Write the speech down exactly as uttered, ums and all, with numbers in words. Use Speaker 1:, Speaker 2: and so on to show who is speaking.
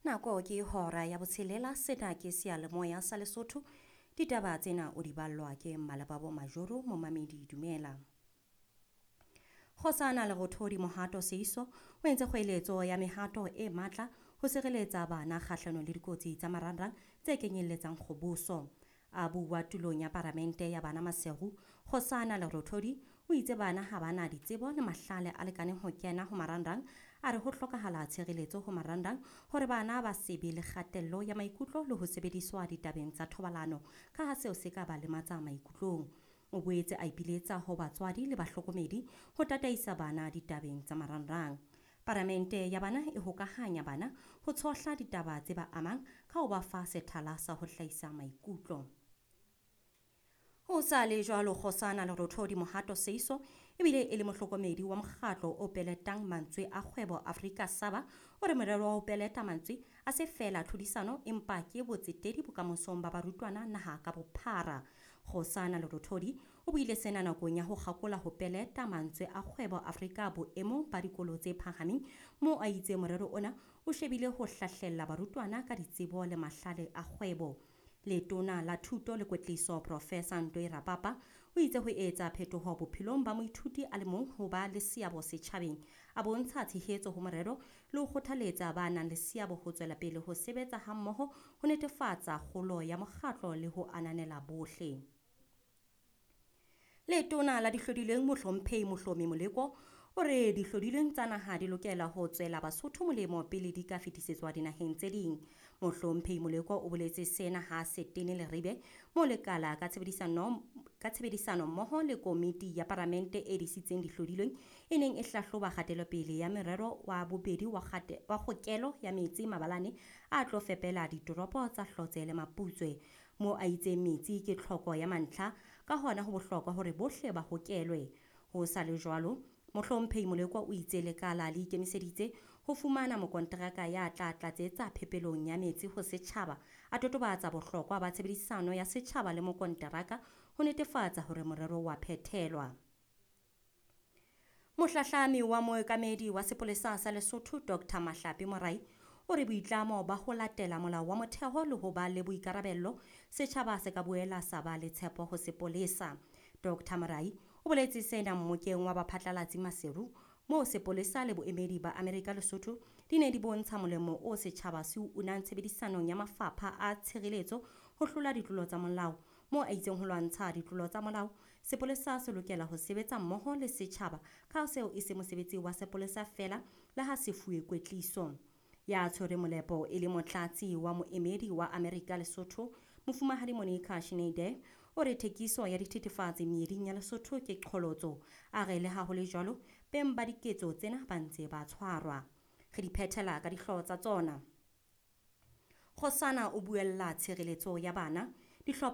Speaker 1: Nako ke hora ya botshelela, sena ke seyalemoya sa Lesotho. Ditaba tsena o di ballwa ke Mmalebabo Majoro, momamedi dumela. Kgosana Lerothodi Mohato Seiso o entse kgoeletso ya mehato e matla ho sireletsa bana kgahlanong le dikotsi tsa marangrang tse kenyelletsang kgoboso. A bua tulong ya paramente ya bana Maseru, Kgosana Lerothodi o itse bana ha bana ditsebo le mahlale a lekaneng ho kena ho marangrang. A re ho hlokahala tshireletso ho marangrang hore bana ba se be le kgatello ya maikutlo le ho sebediswa ditabeng tsa thobalano, ka ha seo se ka ba lematsa maikutlong. O boetse a ipiletsa ho batswadi le bahlokomedi ho tataisa bana ditabeng tsa marangrang. Paramente ya bana e hokahanya bana ho tshohla ditaba tse ba amang ka ho ba fa sethala sa ho hlahisa maikutlo. Ho sa le jwalo, Kgosana Lerothodi Mohato Seiso ebile e le mohlokomedi wa mokgatlo o peletang mantswe a kgwebo Afrika Saba, o re morero wa ho peleta mantswe a se feela tlhodisano empa ke botsetedi bokamosong ba barutwana naha ka bophara. Kgosana Lerothodi o buile sena nakong ya ho kgakola ho peleta mantswe a kgwebo Afrika boemong ba dikolo tse phahameng, moo a itse morero ona o shebile ho hlahlella barutwana ka ditsebo le mahlale a kgwebo. Letona la Thuto le Kwetliso Professor Ntwe Rapapa o itse ho etsa phetoho bophelong ba moithuti a le mong ho ba le seabo setjhabeng, a bontsha tshehetso ho morero le ho kgothaletsa ba nang le seabo ho tswela pele ho sebetsa hammoho ho netefatsa kgolo ya mokgatlo le ho ananela bohle. Letona la Dihlodileng Mohlomphehi Mohlomi Moleko o re dihlodileng tsa naha di lokela ho tswela Basotho molemo pele di ka fetisetswa dinaheng tse ding. Mohlomphehi Moleko o boletse sena ha Setene Leribe moo lekala ka tshebedisano ka tshebedisano mmoho le komiti ya paramente e disitseng dihlodilweng e neng e hlahloba kgatelopele ya merero wa bobedi wa kgate wa kgokelo ya metsi mabalane a tlo fepela ditoropo tsa Hlotse le Maputswe, moo a itseng metsi ke tlhoko ya mantlha, ka hona ho bohlokwa hore bohle ba hokelwe. Ho sa le jwalo, Mohlomphehi Moleko o itse lekala le ikemiseditse ho fumana mokonteraka ya tla tlatsetsa phepelong ya metsi ho setjhaba, a totobatsa bohlokwa ba tshebedisano ya setjhaba le mokonteraka ho netefatsa hore morero wa phethelwa. Mohlahlami wa mookamedi wa sepolesa sa Lesotho Doctor Mahlape Morai o re boitlamo ba ho latela molao wa motheo le ho ba le boikarabello, setjhaba se ka boela sa ba le tshepo ho sepolesa. Doctor Morai o boletse sena mmokeng wa baphatlalatsi Maseru, moo sepolesa le boemedi ba Amerika Lesotho di ne di bontsha molemo o setjhaba se o unang tshebedisanong ya mafapha a tshireletso ho hlola ditlolo tsa molao. Moo a itseng ho lwantsha ditlolo tsa molao, sepolesa se lokela ho sebetsa mmoho le setjhaba, ka seo e se mosebetsi wa sepolesa feela le ha se fuwe kwetliso. Ya tshwere molepo e le motlatsi wa moemedi wa Amerika Lesotho, Mofumahadi Monica Schneider, o re thekiso ya dithethefatsi meeding ya Lesotho ke qholotso. A re le ha ho le jwalo, beng ba diketso tsena ba ntse ba tshwarwa. Re di phethela ka dihlooho tsa tsona. Kgosana o buella tshireletso ya bana. Dihlopha